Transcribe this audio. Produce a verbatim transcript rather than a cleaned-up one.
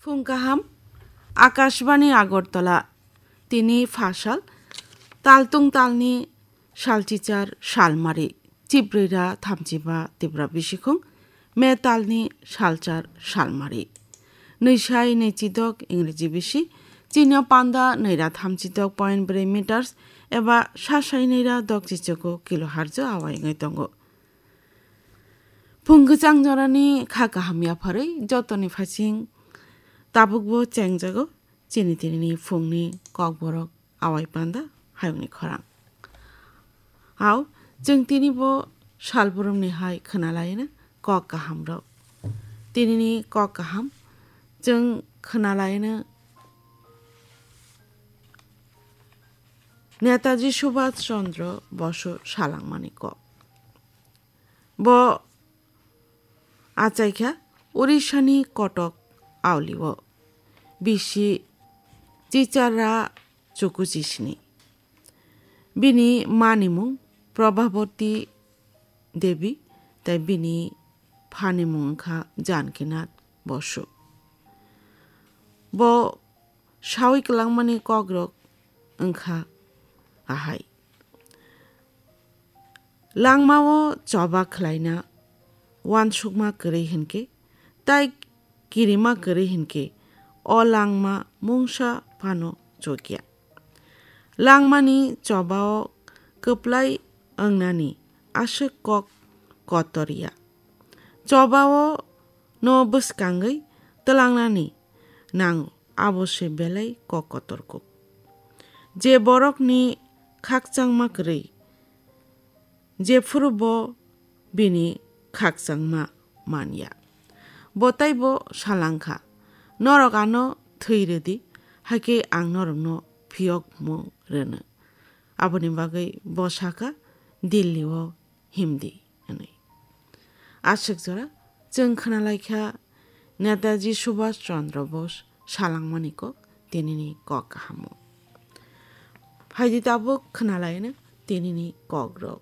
Phung kaham, Akashbani Agartala, tini phasal, taltung talni salchichar salmari, chibrira thamchiba tibra bisikhung, me talni salchar salmari. Nwisai nwichidok Ingreji bisi, chini panda nwira thamchidok point bwrwi meters, eba sasai nwira dok chichoko kilohertz o awai wngwi tongo. Phung kwchang jorani kha kaham yapharwi jotoni phasing tabukbo chengjago chini tinini phungni kokborok awai panda hayungni khorang. Hao, chwng tini bo salbrumni hai khwnalaina kok kahamrok. Tinini kok kaham chwng khwnalaina Netaji Subhash Chandra Bosu salangmani kok. Bo achaikha Orishani Kotok aulio bisi Chichara Chukuchisni. Bini manimung Prabhavati Devi tei bini phanimung wngkha Janakinath Bosu. Bo sawi kwlangmani kokrok wngkha ahai. Langmao choba khlaina uansukma kwrwi hinkhe, tai kirima kwrwi hinkhe, o langma mungsa phano chukya. Langmani chobao kwplai wngnani aswk kok kotor ya. Chobao no bwskangwi twlangnani nango, abo se belai kok kotor kuk. Je borokni khakchangma kwrwi, jephuru bo bini khakchangma man ya. Bo taibo salangkha, "Norok ano thwi rwdi, hakhe ang norokno phiyokmung rwno." Aboni bagwi bo sakha, "Delhi-o himdi," hwnwi. Aswk jora chwng khwnalaikha Netaji Subhash Chandra Bose salangmani kok, tinini kok kahamo. Phaidi tabuk khwnalaino tinini kokrok.